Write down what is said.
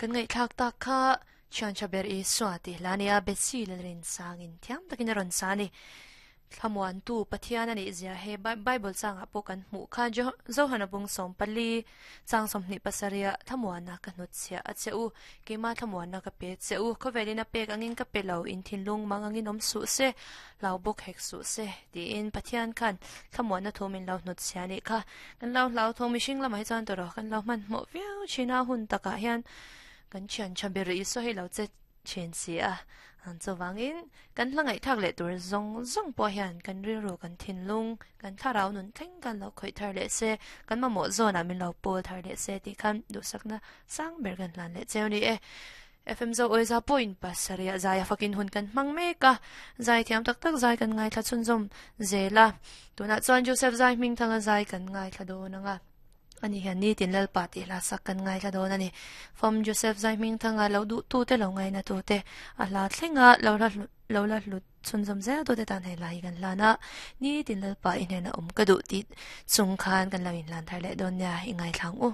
Kan ngaihthlak tak kha Thian tha ber Isua tih hla nia Betsy Lalrin sangin thiam takin a rawn sa a ni. Thlamuantu Pathian a nih zia he Bible changah pawh kan hmuh kha Johana bung 14 chang 27 thlamuanna ka hnutchhiah a che u, keimah thlamuanna ka pe che u, khawvelin a pek angin ka pe lo, in thinlung mang angin awm suh se, hlau bawk hek suh se tiin Pathian khan thlamuanna thu min lo hnutchhiah a nih kha. Kan lo hlauthawng mihring lamah hi chuan tawrh kan lo hmanhmawh viau thin a, hun takah hian kan thian tha ber Isua hi lo che thin si a. Chuvangin kan hla ngaihthlak leh tur zawng zawng pawh hian kan rilru, kan thinlung, kan thlarau nun thleng khan lo khawih thar leh se, kan mamawh zawnah min lo pawl thar leh se tih khan duhsakna sang ber kan hlan leh cheu a ni e. FM Zo Awiza pawhin pasarih zai a fakin hun kan hmang mek a, zai thiam tak tak zai kan ngaithla chhunzawm zel a. Tunah chuan Joseph Zai Hmingthanga zai kan ngaithla dawn ang a. Ani hian nitin Lalpa tih hla sak kan ngaithla dawn a ni. Fam Joseph Zai Hmingthanga lo duhtute lo ngainatute a hla thlenga lo la lo la hlut chhunzawm zel tute tan hei hla hi kan hlan a. Nitin Lalpa i hnena awm ka duh tih chung khan kan lo inhlan thar leh dawn nia i ngaithla ang u.